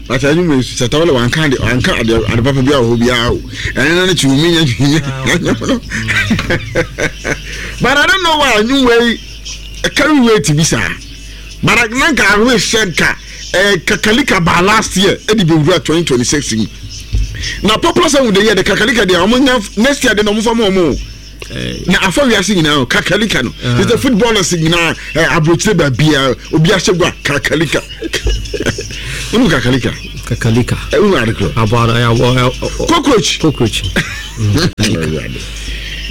But anwuma yi Shatta Wale wanka ade wanka ade ade papa bi a wɔ hɔ biara o. Ɛne na ne kyi omi nya nya nya no. But I don't know why anwuma yi carry weight bi saa. But na nka I wish sɛ nka eh, Kakalika baa last year ɛde bɛwura 2026 mu. Na popular song de yɛ de Kakalika deɛ ɔmo nya next year de na ɔmo fa mu ɔmo o. Na afa wiase nyinaa o kakalika no te sɛ footballers nyinaa ɛ aburokyire baabia obi ahyɛ gua kakalika wonu kakalika kakalika wonu ade korɔ aboa no ɛyɛ aboa cockroach cockroach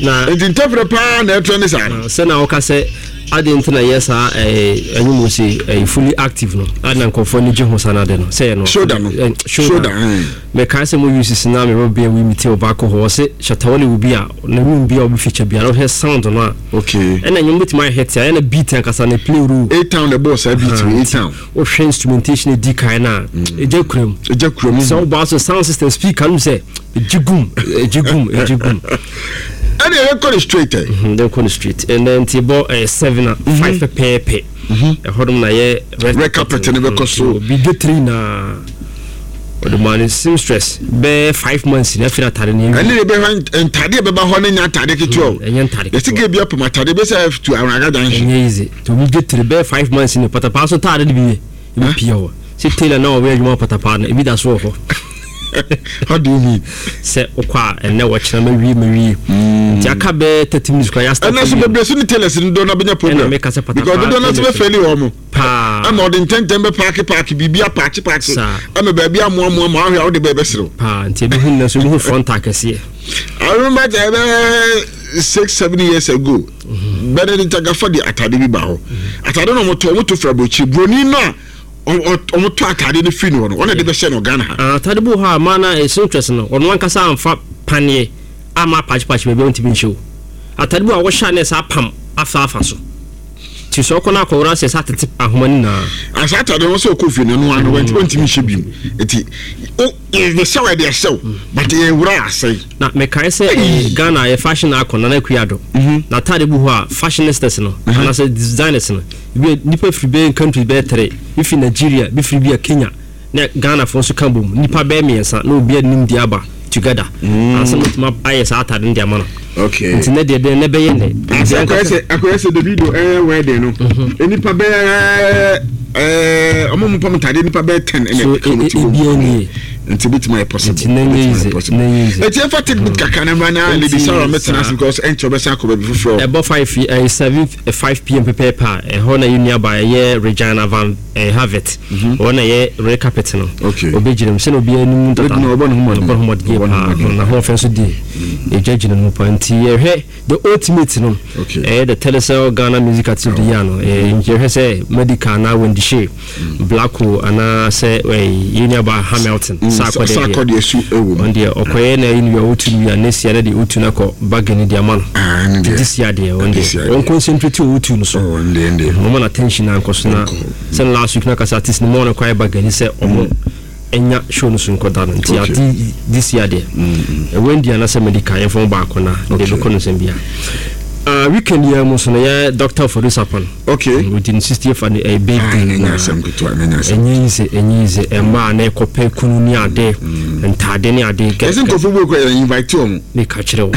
na nti ntɛfrɛ paa na ɛtrɛ ne saa no sɛ na wɔka sɛ ade nti na yɛ saa ɛnwom sɛ ɛyɛ fully active no ade na nkurɔfoɔ ani gye ho saa no ade no sɛ yɛ no shoulder no shoulder Mekae sɛ mo use na me rɔbea wi me tail baako hɔ ɔse Shatta Wale wo bi a na room bi a obi feature bi a na ɔhwɛ sound no a okay ɛna nnwom betumi ayɛ hit a ɛna beat ankasa na play role A town na ɛbɔɔ saa beat wei A town wohwɛ instrumentation edi kan na ɛgya kura mu ɛgya kura mu sɛ wobaa so sound system speaker no sɛ ɛgye gum ɛgye gum ɛgye gum ɛna yɛkɔ no straight ɛ yɛkɔ no straight ɛnɛ nti bɔ 7 a 5 pɛpɛɛpɛ ɛhɔ nom na yɛ red carpet no bɛkɔ so bi getiri na ɔde maa ne seamstress bɛɛ 5 months na afiri atade no. Ɛne de bɛhwɛ ntade a bɛba hɔ no nyɛ atade ketewa o. Ɛnyɛ ntade ketewa. Yɛsi ke bi apam atade bɛsɛ tu awuraga junction. Ɛnyɛ easy nti obi getiri bɛɛ 5 months ne patapaa so taade de bi yɛ ebi pia hɔ sɛ tailor na ɔwɔ adwuma patapaa no ebi da so wɔ hɔ. How do you mean? Sɛ wokɔ a ɛnɛ wɔkyerɛ ma wie ma wie nti aka bɛɛ 30 minutes kora yɛ start. Ɛnɛ so bebree so ne tailors no dɔ na bɛnya problem. Ɛna meka sɛ patapaa because dodoɔ no so bɛfɛli wɔn mo paa. Ɛma ɔde ntɛntɛn bɛ paaki paaki biribi apaakye paakye ɛma baabi amoamoa ma ahwɛ a wode bɛɛ bɛserew paa nti ebi hu nnɛ so ebi hu front akɛseɛ. I remember sɛ ɛbɛyɛ 6, 7 years ago mm-hmm. Benedict Agafa de atade bi ba hɔ mm-hmm. Atade na ɔmotɔ ɔmoto fira aburokyire buroni no a ɔmotɔ atade no firi no hɔ no ɔna de bɛhyɛ no Ghana ha. Ah, atade bi wɔ hɔ a maa na seamstress no ɔno ankasa amfa paneɛ ama apakyepakye baabi a ɔntumi nhyɛ o. Atade bi wɔ a wɔhyɛ a na ɛsɛ apam afa afa so. Nti sɛ ɔkɔ no akɔwora sɛ sɛ atete ahoma no nyinaa. Asa atade no sɛ ɔkɔ fie no ɛno ano ɔntumi nhyɛ bio. Nti yɛhyɛ wo ɛde ahyɛ wo but yɛwura asɛe. Na mekae sɛ Ghana yɛ fashion icon Nana Akua Addo. N'atade gu hɔ a fashionistas no anaasɛ designers no ebi nipa firi bɛyɛ countries bɛyɛ three, bi firi Nigeria, bi firi bi a Kenya na Ghana foɔ nso ka bom nipa bɛyɛ mmiɛnsa na obiara nim deɛ aba together ansa na otumi ayɛ saa atade no de ama no. Okay. Nti ne deɛ deɛ ne bɛyɛ nɛ. Ase akɔyɛ sɛ akɔyɛ sɛ Davido ɛyɛ wedding no. Nipa bɛyɛ ɛɛ ɔmo mo pam ntade nipa bɛyɛ 10 ɛna ɛka mo ti bɔ mu. Nti ebi tuma yɛ possible. Nti ne nye easy ne nye easy. Eti efa take bit kakra na mma na Lady Sarah mɛtena ase because ɛnkyɛ ɔbɛsan akɔ baabi foforɔ. Ɛbɔ 5 ɛyɛ 7 5 p.m. pɛpɛɛpɛ a ɛhɔ na yɛ nua ba ɛyɛ Regina Van Havet. Ɔno na ɛyɛ red carpet no. Ɔbɛgyina mu sɛnea obiara nim dada. Ɔbɔ ne ho mmɔden. Ɔbɔ ne ho mmɔden yie paa. N'ahoɔfɛ nso di ɛgya gyina mu paa. Nti yɛhwɛ the ultimate no. Ɛyɛ the Telecel Ghana Music Artist of the Year no. Nti yɛhwɛ sɛ Medica anaa Wendy Shay, Blacko anaa sɛ yɛn nuaba Hamilton. Sarkodie su ɛwɔ mu. Ɔno deɛ ɔkɔyɛ na ɛyi no wie a ɔtu no wie a next year na deɛ ɔtu no akɔ bargain de ama no. Nti this year deɛ ɔno deɛ ɔn concentrate wɔ ɔtu no so. Ɔma no attention ankɔ so na. Sɛ last week na kasa artist no mo ɔno kwae ba gani sɛ ɔmo nya show no so nkɔda no nti ade this year deɛ Wendy anasɛ Medica yɛmfa mo baako na deɛ bɛkɔ no nsɛm bia. Weekend yi mu nso no yɛ Dr. Ofori Sarpong. Okay. Odi ne 60th and birthday na ɛnyɛ easy, ɛnyɛ easy. Ɛmaa na ɛkɔpɛ kunu ne ade, ntaade ne ade. Ɛsɛ nkurɔfoɔ bi kɔ yɛ invite wɔn. Meka kyerɛ wo.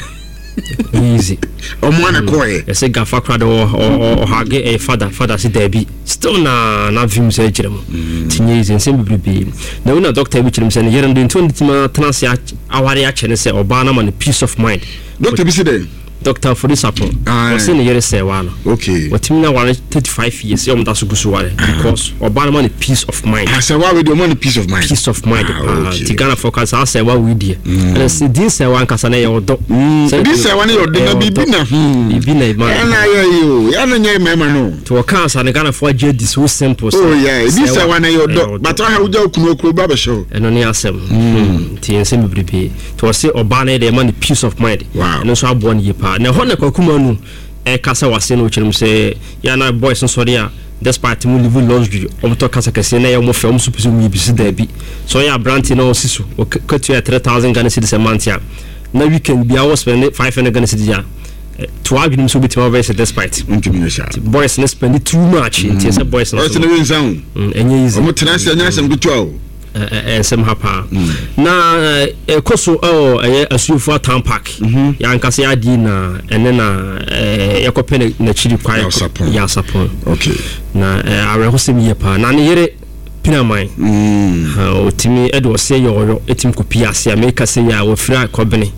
Easy. Ɔmo ana kɔɛ. Ɛsɛ gafa kora de ɔhage ɛyɛ fada fada se daabi still na na vim sɛ kyerɛ mu. Ti nyɛ easy nsɛm bebrebe. Na wona doctor bi kyerɛ mu sɛ ne yere no de nti ɔne tumi atena ase aware akyɛ ne sɛ ɔbaa no ama no peace of mind. Doctor bi se dɛn? Doctor Ofori Sarpong. Ɔse ne yere sɛ waa no. Okay. Wɔtumi na ware 35 years yɛ ɔmo da so gu so ware because ɔbaa no ma no peace of mind. Ah, sɛ waa wei deɛ ɔma no peace of mind. Peace of mind paa. Ti Ghana fo ka saa sɛ waa wei deɛ. Ɛna sɛ din sɛ waa nkasa na ɛyɛ ɔdɔ. Din sɛ waa no yɛ ɔdɔ na biribi na. Biribi na ɛma. Ɛna ayɛ yi o, yɛn na nyɛ mmarima no. Nti wɔka asa no Ghana fo agye adi so simple. Oh yeah, ebi sɛ waa no yɛ ɔdɔ, but ɔha wogya okunu okuro ba bɛhyɛ o. Ɛno ne asɛm. Nti nsɛm bebrebe. Nti ɔse ɔbaa no yɛ deɛ ɛma no peace of mind. Wow. Ɛno nso aboa no yie paa. Na ɛhɔ na Kwaku Manu ɛkasa wɔ aseɛ no ɔkyerɛ mu sɛ yɛ na boys no sɔre a despite mu live luxury wɔn tɔ kasa kɛseɛ na ɛyɛ wɔn fɛ wɔn nso pɛ sɛ wɔn yɛ bi so daabi. Sɛ ɔyɛ aberanteɛ na ɔsi so ɔkatua 3,000 Ghana cedis a month a na weekend biara wɔ spend 500 Ghana cedis a To adwene mu sɛ wobɛtumi abɛyɛ sɛ despite. Ntumi nyɛ saa. Boys no spend too much nti ɛsɛ boys no. Boys no nsa o. Ɛnyɛ easy. Wɔn tena ase ɛnyɛ asɛm ketewa o. Ɛnsɛm ha paa. Na ɛkɔ so ɛwɔ ɛyɛ Asuofua Town Park. Yɛankasa yɛ adeɛ na ɛne na yɛkɔpɛ n'akyiri kwan. Yasapɔn. Okay. Na awerɛhosɛm yie paa. Na ne yere Pinaman. Ɔtumi ɛde ɔseɛ yɛ ɔyɔ ɛtumi kɔpie ase a meka sɛ yɛ a wɔfiri akɔbene.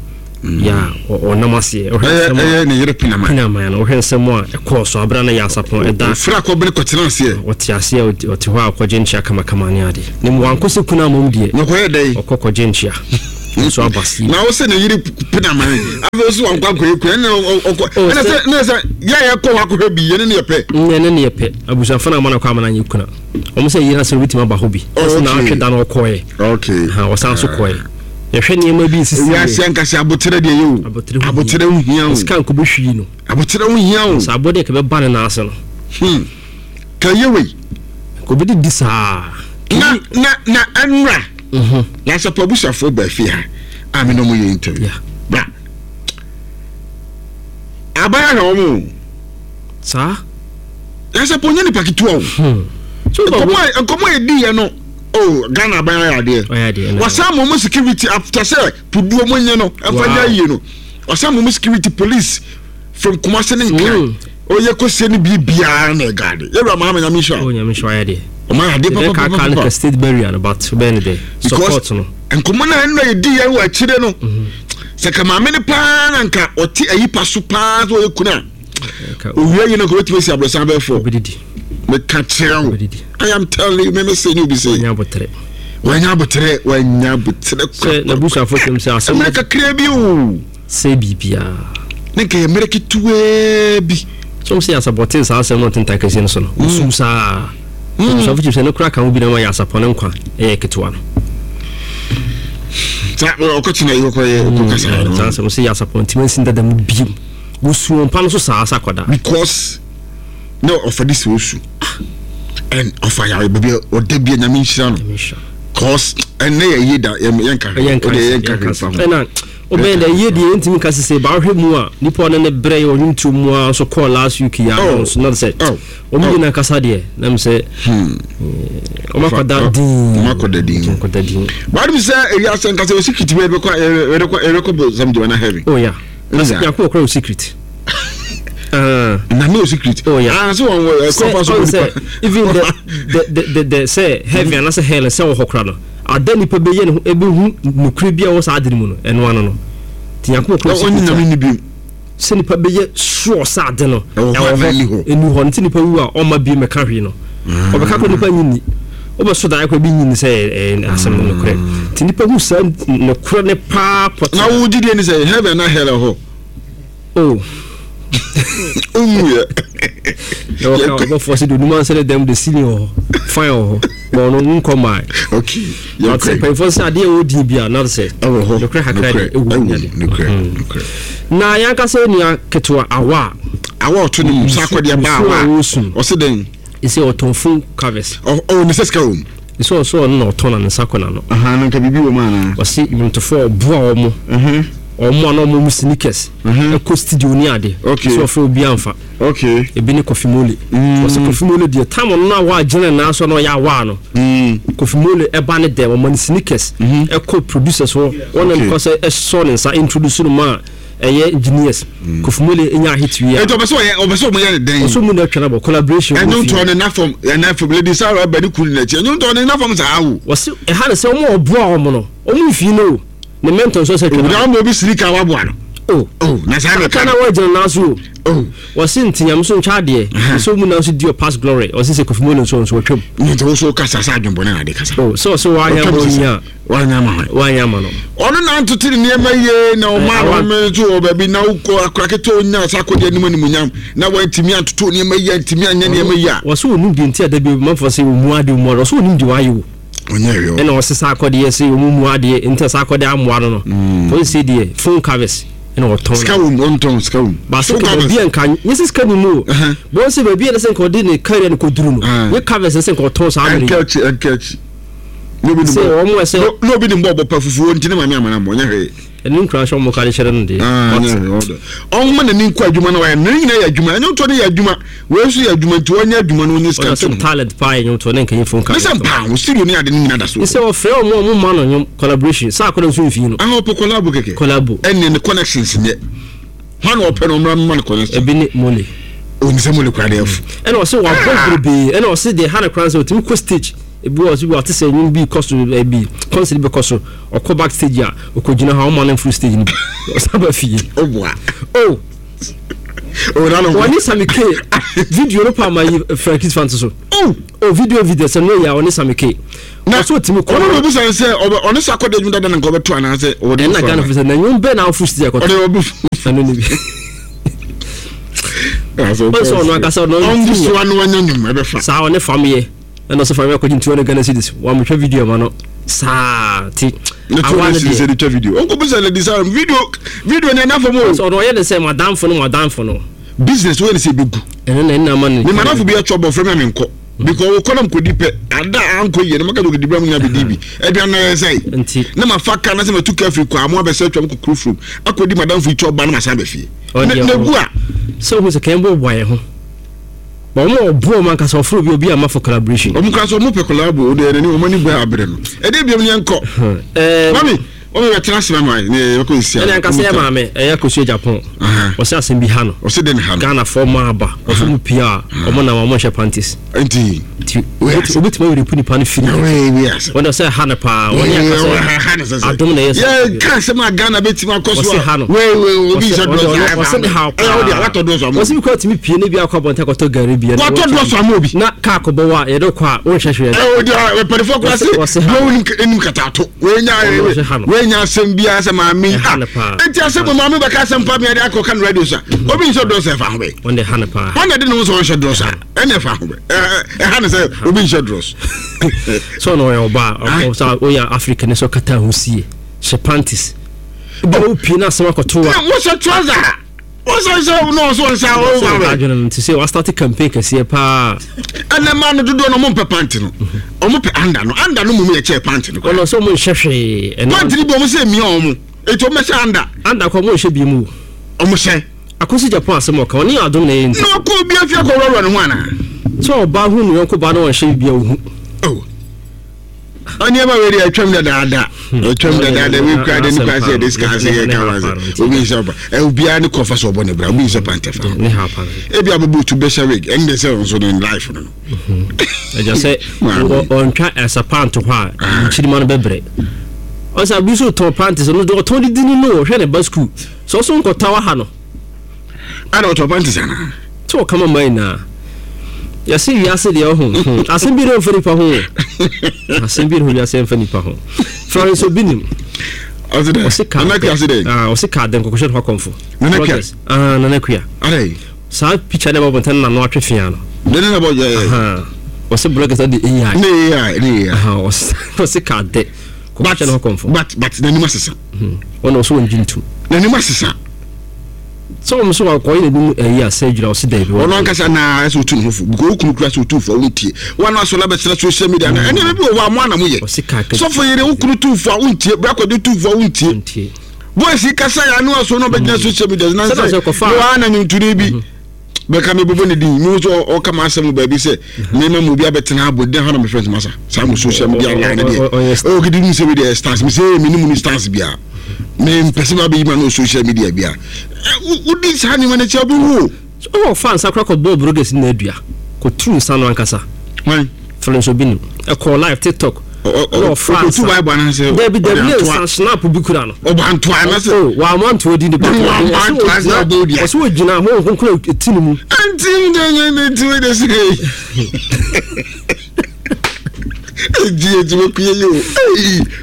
yɛ a ɔnam aseɛ. Ɔhwɛ nsɛm a ɛyɛ ne yere Pinaman. Pinaman no ɔhwɛ nsɛm a ɛkɔɔ so abere na yɛ asapɔn ɛda. Ofiri akɔbene kɔtena aseɛ. Ɔte aseɛ ɔte hɔ a ɔkɔgye nkyea kamakama ne ade. Ne mu wankɔ sɛ kunu amom deɛ. Na ɔkɔyɛ dɛn? Ɔkɔ kɔgye nkyea. Nso aba sie. Na ɔsɛ ne yere Pinaman. Afei ɔsɛ wankɔ akɔyɛ kunu ɛna ɔkɔ. Oh, ɛna sɛ na sɛ yɛ a yɛkɔ hɔ akɔhwɛ bi yɛne ne yɛ pɛ. Yɛne ne yɛ pɛ. Abusuafo na ama no kɔ ama no anyɛ kuna. Wɔn sɛ yere asɛm obetumi aba hɔ bi. Ɔsɛ na atwe da na ɔkɔɛ. Okay. Ɔsan so kɔɛ. Yɛhwɛ nneɛma bi nsisi yɛ. Wiase ankasa aboterɛ deɛ yɛ o. Aboterɛ ho hia o. Sika nko bɛhwie no. Aboterɛ ho hia o. Sɛ abɔdeɛ kɛ bɛba ne nan ase no. Hmm. Ka yɛ wei. Kò bi didi saa. Na na na ɛnura. Mhm. Na asapɔ abusuafoɔ baa fie ha a me na ɔmo yɛ interview. Bra. Aban ahwɛ wɔn o. Saa. Na asapɔ nyɛ nipa ketewa o. Hmm. Nkɔmɔ nkɔmɔ yɛ di yɛ no. Oh, Ghana aban ayɛ adeɛ. Wasan ma ɔmo security after sɛ puduo mo nye no ɛfa nyɛ ayie no. Wasan ma ɔmo security police from Kumasi ne Nkran. Mm. Oyɛ kɔsie ne biribiara na ɛgaade. Yɛwura Mahama nyame nhyira. Oh, nyame nhyira ayɛ deɛ. Ɔmo ayɛ adeɛ papa papa papa. Kaka state burial no but bɛn ne dɛ. Support no. Nkɔmɔ na ɛnna yɛ di yɛn wɔ akyire no. Mhm. Sɛ ka maame no paa na nka ɔte ayi pa so paa sɛ ɔyɛ kuna. Owia yi no nka obetumi asi aborosan bɛyɛ fɔ. Meka kyerɛ wo. I am telling you, meme sɛ ne obi sɛ. Wanya abotere. Wanya abotere, wanya abotere. Sɛ n'abusuafo kyɛm sɛ asɛm. Mmerɛ kakra bi o. Sɛ biribiara. Ne nka yɛ mmerɛ ketewaa bi. Sɛ wɔn sɛ yasabɔten saa asɛm no ntentan kɛseɛ no so no, wosu saa. Abusuafo kyɛm sɛ ne kora ka ho bi na ma yasapɔ ne nkwa ɛyɛ ketewa no. Saa ɔkɔkyena yi kɔkɔ yɛ kɔkasa no. Saa asɛm sɛ yasapɔ ntoma nsi dada mu biem. Wosu wɔn pa no so saa sɛ akwadaa. Because na ɔfa de si osu and ɔfa yare baabi ɔda bi nyame nhyira no cause ɛnɛ yɛ yie da yɛnka hwee ɔde yɛnka hwee fa ho ɛna ɔbɛn dɛ yie deɛ yɛntumi nka sese ba ɔhwɛ mu a nipa ɔne ne brɛ yɛ ɔnwom tuo mu a nso kɔɔ last week yɛ ano nso na sɛ wɔn nyinaa kasa deɛ na mi sɛ wɔn akɔda din wɔn akɔda din wɔn akɔda din baadu mi sɛ ewi asɛ nkasa osi kiti bi ɛbɛkɔ ɛbɛkɔ ɛbɛkɔ bɔ sam jima na heaven. Oh yeah. Yankun okura o secret. Na no secret. Oh yeah. Ah, so wɔn wɔ ɛkɔ fa so wɔ nipa. Even the the the the the sɛ heaven mm. anasɛ hell sɛ wɔ hɔ kora no. Ada nipa bɛyɛ ne ho ebehu nukuri bi a wɔ saa adi mu no ɛno ano no. Ti Yankun okura o secret. Ɔnyi nyame ni bi. Sɛ nipa bɛyɛ sure sɛ ade no ɛwɔ hɔ ɛni hɔ nti nipa wu a ɔma bi mɛka hwee no. Ɔbɛka kɔ nipa nyi ni. Wobɛso daeɛ kora bi nyi ni sɛ ɛyɛ asɛm no nokorɛ. Nti nipa hu saa nokorɛ ne paa pɔtee. Na wo gyidie ne sɛ heaven na hell hɔ? Oh. Wonwuiɛ. Na wɔka ɔbɔfoɔ sɛ deɛ onim ansa ne dɛm de ceiling wɔ hɔ, fine wɔ hɔ, ma ɔno nkɔ mmae. Okay. But mpanyinfoɔ sɛ adeɛ ɛwɔ din bi a na sɛ ɛwɔ hɔ nokorɛ kakra de ɛwɔ mu ade. Nokorɛ nokorɛ. Na yɛn ankasa nua ketewa awa a. Awa ɔto ne mu sɛ akɔdeɛ ba awa. Ɔse dɛn? Ese ɔtɔn phone covers. Ɔ ɔ ne sɛ sika wɔ mu. Ese ɔsɛ ɔno na ɔtɔn na ne nsa kɔ n'ano. Ahaa na nka biribi wɔ mu anaa. Ɔse nnwomtofoɔ a ɔboa wɔn. Wɔn a na wɔn sneakers. Ɛkɔ studio ne ade. Okay. Ese ɔfrɛ obi anfa. Okay. Ebi ne Kofi Mole. Ɔse Kofi Mole deɛ time ɔno na awa gyina ne nan so na ɔyɛ awaa no. Kofi Mole ɛba ne dɛm ɔma ne sneakers. Ɛkɔ producers hɔ. Wɔn na ɛkɔ sɛ ɛsɔ ne nsa introduce no ma. Ɛyɛ engineers. Mm. Kofi Mole nya hit wi a. Eti ɔbɛ sɛ ɔyɛ ɔbɛ sɛ ɔmo yɛ ne dɛn. Ɔsɛ ɔmo na atwa na bɔ collaboration. Ɛnyo ntɔ ne na fam ɛna fam Lady Sarah ɛbɛ ne kunu n'akyi ɛnyo ntɔ ne na fam saa awo. Wɔsi ɛha ne sɛ ɔmo ɔboa ɔmo no ɔmo nfi no o ne mentor nso sɛ twɛ na. Ɔmo obi siri ka waboa no. Oh. Oh na saa na ɛka. Na wɔgyina n'aso o. Oh. Wɔsi nti nyame so ntwa adeɛ. Nso mu na nso di past glory. Ɔsi sɛ Kofi Mole nso nso ɔtwam. Nti woso kasa sɛ adwembɔne na ade kasa. Oh sɛ ɔsɛ wɔayɛ bɔ nya. Wanyɛ ama hwan? Wanyɛ ama no. Ɔno na ntoto ne nneɛma yie na ɔma no home nso wɔ baabi na wokɔ akora ketewa onya saa akɔdeɛ anim animuonyam na wantumi antoto nneɛma yie antumi anyɛ nneɛma yie a. Wɔsɛ onim deɛ nti a da bi manfoɔ sɛ ɔmu adeɛ ɔmu adeɛ ɔsɛ onim deɛ wayɛ o. Ɔnyɛ hwee o. Ɛna ɔsɛ saa akɔdeɛ sɛ ɔmu mu adeɛ nti saa akɔdeɛ amoa no no. Wɔn sɛ deɛ phone covers ɛna ɔtɔn. Sika wom ɔntɔn sika wom. Baasa kɛ baabi a nka nyɛ sɛ sika ni mu o. Bɔn sɛ baabi a ɛsɛ nka ɔde ne career no kɔduru no. Nyɛ covers ɛsɛ nka ɔtɔn saa mmerɛ yi. Ɛnkɛ akyi ɛnkɛ akyi. Sɛ wɔn ɛsɛ. Na obi nim bɔ ɔbɔ pa fufuo nti ne maame amana mmɔ nyɛ hwee. Ɛne nkura nhyɛ ɔmo ka de kyerɛ no deɛ. Ah, ɔmo n'ani nkɔ adwuma na wayɛ ne nyinaa yɛ adwuma ɛnyɛ ntɔ ne yɛ adwuma wei nso yɛ adwuma nti ɔnyɛ adwuma na ɔnyɛ sika nto ne ho. Talent paa yɛ nnwomtoɔ ne nkanyimfoɔ nka. Ne sɛ mpaa ho studio ne ade no nyinaa da so. Ne sɛ ɔfrɛ ɔmo a ɔmo ma no nnwom collaboration saa akɔda nso mfii no. Ah ɔpɛ collabo kɛkɛ. Collabo. Ɛnneɛ ne connections nyɛ. Hwan na ɔpɛ no ɔmmra mma no connection. Ebi ne Mole. Onim sɛ Mole koraa deɛ ɛfo. Ɛna ɔsɛ wabɔ bebree ɛna ɔsɛ deɛ ha ne koraa sɛ ɔtumi kɔ stage ebi wɔ ɔsɛ bi ɔte sɛ nnwom bi kɔ so ɛbi concert bi kɔ so ɔkɔ back stage a ɔkɔ gyina hɔ a ɔma no mforo stage no bi ɔsan ba fie. Ɔboa. Oh. Wɔne Sammy K video no pa ma yi Frankis fan so. Oh, oh video video sɛ no yɛ ɔne Sammy K. Na ɔsɛ ɔtumi kɔ. Ɔno na obi sɛ sɛ ɔne sɛ akɔda adwuma dada na nka ɔbɛto anaasɛ ɔde. Ɛna Ghana fo sɛ na nnwom bɛn na afo sisi akɔto. Ɔde ɔbɛ. Ɛno ne bi. Ɔsɛ ɔno ankasa ɔno. Ɔngu so ano anya nnwom ɛbɛfa. Saa ɔne fam yɛ. Ɛna ɔsɛ fam yɛ akɔgye 200 Ghana cedis. Wɔamehwɛ video ma no saa ti. Ne 200 cedis ɛde twa video. Ɔnkɔ bisa lady Sarah video video ne ɛna fam o. Ɔsɛ ɔno ɔyɛ ne sɛ madamfo no madamfo no. Business wɔyɛ ne sɛ ebegu. Ɛno na ɛna ama ne. Ne madamfo bi atwa bɔ fam na menkɔ. Because wokɔ na mekɔdi pɛ ada a ankɔ yie na maka sɛ ɔkɔdi bra mu nyina bɛdi bi aduane no ayɛ sɛe nti na mafa ka na sɛ matu ka afiri kwaa mo abɛsɛ atwam kɔ kuro furom akɔdi madamfo yi kyɛ ɔba na masan ba fie na gu a sɛ wohu sɛ kɛn bɔbɔ yɛ ho ba wɔn a ɔboɔ wɔn ankasa ɔforo bi obi ama for collaboration wɔn kora sɛ wɔn pɛ collabo o deɛ n'ani wɔn ani bɔ abere no ɛdeɛ biom ne yɛnkɔ mami Wɔn bɛ tena ase ma ma ne yɛ kɔ nsia. Ɛna nkasa yɛ maame ɛyɛ akosua Japan. Ɔsɛ asɛm bi ha no. Ɔsɛ den ha no. Ghana fɔ ɔmo aba. Ɔsɛ ɔmo pia a ɔmo nam ɔmo nhyɛ panties. Nti. Nti obetumi awere pu nipa no firi. Wɔn ɔsɛ ha no paa. Wɔn yɛ akasa adom na ɛyɛ sɛ. Yɛ ka asɛm a Ghana betumi akɔ so a. Ɔsɛ ha no. Wei wei obi nhyɛ drɔs. Ɔsɛ ne ha paa. Ɛyɛ ɔde watɔ drɔs ama. Ɔsɛ bi kɔ tumi pie ne bi akɔ abɔnten akɔtɔ gari bi. Watɔ drɔs ama obi. Na kaa kɔbɔ wa yɛde kɔ a wɔnhwɛ hwee. Ɛwɔ di mpanyinfoɔ kura se. Wɔn nim katato. Wei nya asɛm biara sɛ maame yi ah eti asɛm mu maame bɛka asɛm pa mi de akɔ kan radio sa obi nhyɛ drɔs ɛfa ho bɛ. Wɔn de ha no paa. Wɔn na de ne ho sɛ ɔnhyɛ drɔs a ɛna ɛfa ho bɛ ɛha no sɛ obi nhyɛ drɔs. Sɛ ɔno ɔyɛ ɔbaa ɔsɛ ɔyɛ Africa ne sɛ ɔkata ho sie hyɛ panties. Ebi a wopie na asɛm akɔto wa. Wɔhyɛ trouser. Wɔsɛ sɛ na ɔsɔ nsa ɔwɔ sɛ adwene no nti sɛ wastate campaign kɛseɛ paa. Ɛnɛ maa no dodoɔ no ɔmo mpɛ pant no ɔmo pɛ anda no anda no mmom yɛ kyɛɛ pant no koraa. Ɔno sɛ ɔmo nhyɛ hwee. Pant no bi ɔmo sɛ emia ɔmo eti ɔmo bɛhyɛ anda. Anda kɔ ɔmo nhyɛ bi mu. Ɔmo hyɛ. Akosi Japan asɛm ɔka ɔne adom na ɛyɛ nti. Na ɔkɔ obi afie akɔ wura ne ho anaa. Sɛ ɔbaa hu ne yɔnko baa na ɔnhyɛ biribi a ohu. Oh. Nneɛma wei deɛ atwam dadaada atwam dadaada wei kura de ne kura sɛ yɛde sika ase yɛ ka wase obi nhyɛ ɔba ɛ obiara ne kɔfa sɛ ɔbɔ ne bra obi nhyɛ pantɛ fa ebi abɛbɔ otu bɛhyɛ wig ɛne de sɛ ɔnso ne life no no. Ɛgya sɛ ɔntwa ɛsa pant hɔ a nkyirima no bɛbrɛ ɔsɛ abi nso tɔn pant sɛ no ɔtɔn de di ne no ɔhwɛ ne ba sukuu sɛ ɔso nkɔta wɔ ha no. Ana ɔtɔ panties anaa? Sɛ ɔka ma man nyinaa. Yɛse wiase deɛ ɔho hmm. Asɛm bi mfa nipa ho. Asɛm bi ho wiase mfa nipa ho. Florence Obi nim. Ɔse kaa dɛ. Ah, ɔse kaa dɛ nkɔkɔhyɛ no hɔ akɔmfo. Nana Kua. Ah, Nana Kua. Adɛ. Saa picture na ɛbɔ bɔntɛn na no atwe fia no. Dɛn na bɔ yɛ. Ɔse bloggers de AI. Ne AI, ne AI. Ɔse kaa dɛ kɔkɔhyɛ no hɔ akɔmfo. But n'anim asesa. Ɔna ɔse wɔn gye ntum. N'anim asesa. Sɛ wɔn nso wakɔyɛ n'anim ɛyi a surgery a ɔsi daabi. Ɔno ankasa na ɛsɛ otu ne ho fo because okunu kura sɛ otu fo a wontie. Wɔn asɔre abɛsra social media na ɛnneɛma bi wɔ hɔ a mo ana mo yɛ. Sɔfo yere wo kunu tu fo a wontie, bra kɔde tu fo a wontie. Boys yi kasa yɛ ano asɔre na ɔbɛgyina social media na sɛ wɔn ana nnwontoni bi. Bɛka me bobɔ ne din mehu sɛ ɔka m'asɛm wɔ baabi sɛ mema mu obi abɛtena abɔ din ha na mefrɛ ntoma sa saa mo social media line no deɛ ɔyɛ gidi mu sɛ me deɛ stars me sɛ me ne mu ni stars bia mempɛ sɛ mabɛyi ma no social media bia wodi saa nneɛma no akyi a wobɛwu o. Ɔwɔ fa nsa kora kɔbɔɔ broges no adua kɔturu nsa no ankasa. Hwan? Florence Obinim. Ɛkɔɔ live TikTok. Ɛna ɔfaa nsa. Ɔkɔtu Bible anaasɛ? Dabi dabi ne nsa snap bi kura no. Ɔbɔ antoa anaasɛ? O wamma antoa di ne ba. Wamma antoa sɛ ɔbɔ odua. Ɔsɛ ogyina ho nkonkron ti ne mu. Ɛnti ne ne ne ti wei de si de. Eji eji mo kuye yi o.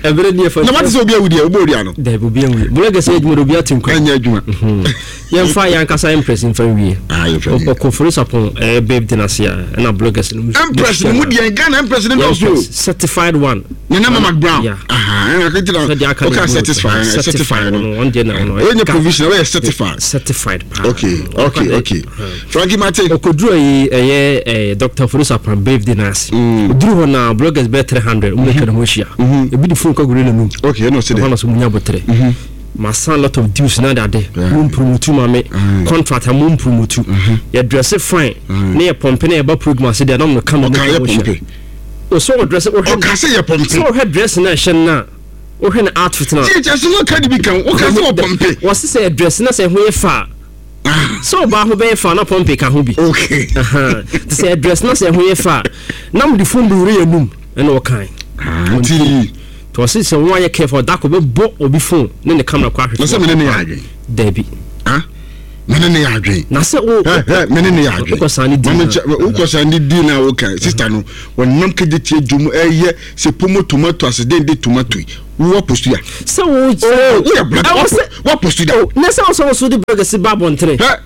Ɛbɛrɛ ni ɛfɛ. Na wate sɛ obi awu deɛ ɔbɔ odua no. Dabi obi awu. Bolo gɛsɛ adwuma de obi ate nkwa. Ɛnyɛ adwuma. Yɛmfa yɛn ankasa Empress mfa nwie. Ah, yɛmfa nwie. Ɔkɔfori sapɔn ɛyɛ babe de n'ase a ɛna bloggers no. Empress no mu deɛ Ghana Empress no dɔɔso o. Certified one. Nana Mama Brown. Yeah. Aha, ɛna akɔgyina. Sɛ deɛ aka ne certified, certified no. Ɔno deɛ na ɔno. Ɛyɛ provision, ɛyɛ certified. Certified paa. Okay, okay, okay. Frankie Mate. Okoduru yi ɛyɛ ɛɛ Dr. Ofori Sapɔn babe de n'ase. Oduru hɔ na bloggers bɛyɛ 300 wɔn atwa ne ho ahyia. Ebi de phone kɔ gure n'anum. Okay, ɛna ɔsɛ dɛ. Ɛhɔ na so munya botere. Ma sign lot of deals na dade. Mo mpromotu ma me. Contract a mo mpromotu. Yɛ dress fine. Ne yɛ pɔmpe na yɛ ba program ase deɛ na mo ka mo mo hyɛ. O sɛ ɔ dress o hwɛ. Ɔka sɛ yɛ pɔmpe. Sɛ ɔhwɛ dress na ɛhyɛ no na wohwɛ ne outfit na. Tie kyɛ sɛ wɔka de bi ka wo ka sɛ ɔpɔmpe. Wɔse sɛ yɛ dress na sɛ ɛho yɛ fa a. Sɛ ɔbaa ho bɛyɛ fa na pɔmpe ka ho bi. Okay. Te sɛ yɛ dress na sɛ ɛho yɛ fa a na mo de phone bɛwura yɛ anum ɛna ɔkan. Nti. Nti ɔse sɛ wɔn ayɛ careful ɔda ko bɛbɔ obi phone ne ne camera kɔ ahwehwɛ. Na sɛ mene ne yɛ adwen. Dabi. Ah? Mene ne yɛ adwen. Na sɛ wo. Hɛ mene ne yɛ adwen. Wokɔ san ne di na. Wokɔ san ne di na woka sister no wɔnam kegye tie dwom ɛyɛ sɛ pomo tomato ase den de tomato yi wo wapostu ya. Sɛ wo. Oh woyɛ black wapostu da. Na sɛ wo sɛ wo so de burgers ba abɔntene. Hɛ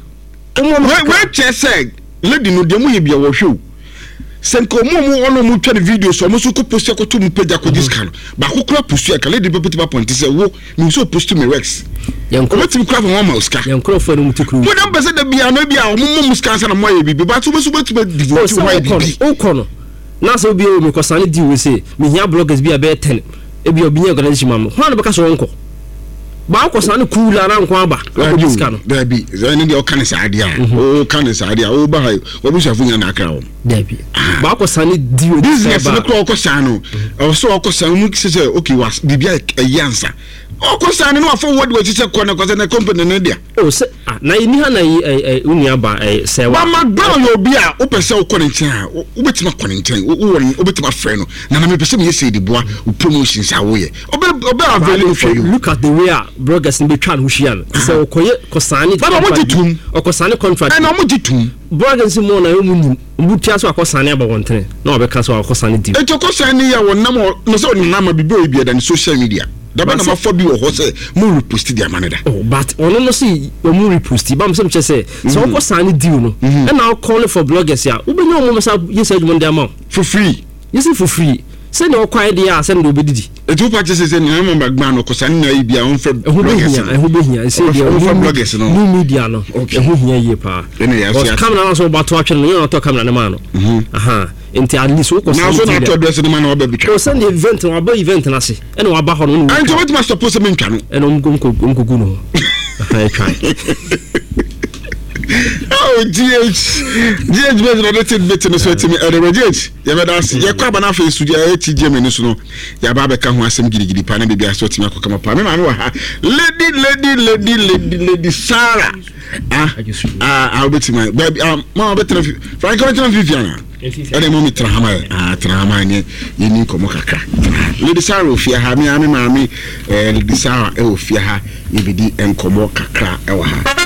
wei kyerɛ sɛ lady no deɛ mo yɛ bia wɔhwɛ o sɛ nka ɔmo ɔmo ɔno ɔmo twa ne video so ɔmo nso kɔ post akɔto mu page akɔgye sika no baako kora post a nka lady bɛpɛtɛ ba pɔnte sɛ wo mehu sɛ ɔpost me rex ɔbɛtumi kora fa wɔn ama wo sika yɛn nkurɔfoɔ no mu ti kuru mo dɛm pɛ sɛ da bia no bi a ɔmo mmɔ mu sika ansa na mo ayɛ biribi but wobɛso wobɛtumi devote ho ayɛ biribi wokɔ no na sɛ obi wɔ mekɔsane di wei sɛ mehia bloggers bi a bɛyɛ 10 ebi obi nya organisation ma me hwan na bɛka sɛ wɔnkɔ ba wokɔ ne cool ara nko aba akɔgye sika no daabi ɛne deɛ ɔka ne saa deɛ a mhm. ɔka ne saa deɛ a woba ha wabusuafo nyina na akra wɔm daabi ah. ba wokɔ saa ne di business no kora ɔkɔ saa no mhm. ɛwɔ sɛ ɔkɔ saa mu sɛ sɛ okay was biribi a ɛyɛ ansa ɔkɔ saa no na wafa wɔ de wakyi sɛ kɔ ne kɔ sɛ ne company ne dea O sɛ ah na yɛni ha na yi ɛ ɛ wo nua ba ɛ sɛ wa. Mama Brown yɛ obi a wopɛ sɛ wokɔ ne nkyɛn a wobɛtumi akɔ ne nkyɛn wowɔ ne wobɛtumi afrɛ no nana mepɛ sɛ meyɛ sei de boa wo promotions a woyɛ ɔbɛ ɔbɛ avail for you. Look at the way a bloggers no bɛtwa ne ho hyia no te sɛ ɔkɔyɛ kɔsaane Baba wɔn gye tum ɔkɔsaane contract ɛna wɔn gye tum. Bloggers mu na wɔn nim wɔn tua so akɔsaane aba wɔn na wɔbɛka so akɔsaane deal. Eti ɔkɔsaane yi a wɔnam na sɛ ɔnam a biribi a ɔyɛ bi ɛda ne social media. Daba na mafa bi wɔ hɔ sɛ mo reposti de ama no da. Oh but ɔno no se ɔmo reposti ba sɛ mekyɛ sɛ sɛ ɔkɔ sign deal no ɛna ɔkɔ call for bloggers a wobɛnya ɔmo bɛsa yɛ saa adwuma no de ama wo. For free. Yɛsi for free sɛnea ɔkɔ ayɛ deɛ a sɛnea ɔbɛdidi. Eti wopa kyɛ sɛ sɛ nea ɛma ba gbaa no ɔkɔ saa ne na ayɛ bi a ɔmfrɛ bloggers no. Ɛho bɛhia ɛsɛ deɛ ɔmfrɛ bloggers no. New media no ɛho hia yie paa. Ɛna yɛ ase. Camera no nso ɔba to atwene no yɛn na ɔtɔ camera no maa no. Nti at least wokɔ sɛ. Nanso na atɔ dress no ma na waba bitwa. O sɛ ne event no waba event no ase ɛna waba hɔ no. Ɛnti wobɛtumi asɔpo sɛ mentwa no. Ɛna ɔmo kɔ gu no ho. Ɛtwa. Oh, GH GH bɛsi na ɔde ti bit no so ɛtumi ɛde bɛ GH yɛbɛda ase yɛkɔ aba no afei so ɛyɛ ti gyeme no so no yɛaba abɛka ho asɛm gidigidi paa na biribi ase ɔtumi akɔ kama paa me maame wɔ ha lady lady lady lady lady Sarah ah ah ah wobɛtumi baabi ah mama bɛtena fi frank wobɛtena fifi ana ɛna ɛma me tena ha ma yɛ ah tena ha ma yɛ yɛni nkɔmmɔ kakra tena ha lady Sarah wɔ fie ha me a me maame eh, lady Sarah ɛwɔ fie ha yɛbɛdi nkɔmmɔ kakra ɛwɔ ha.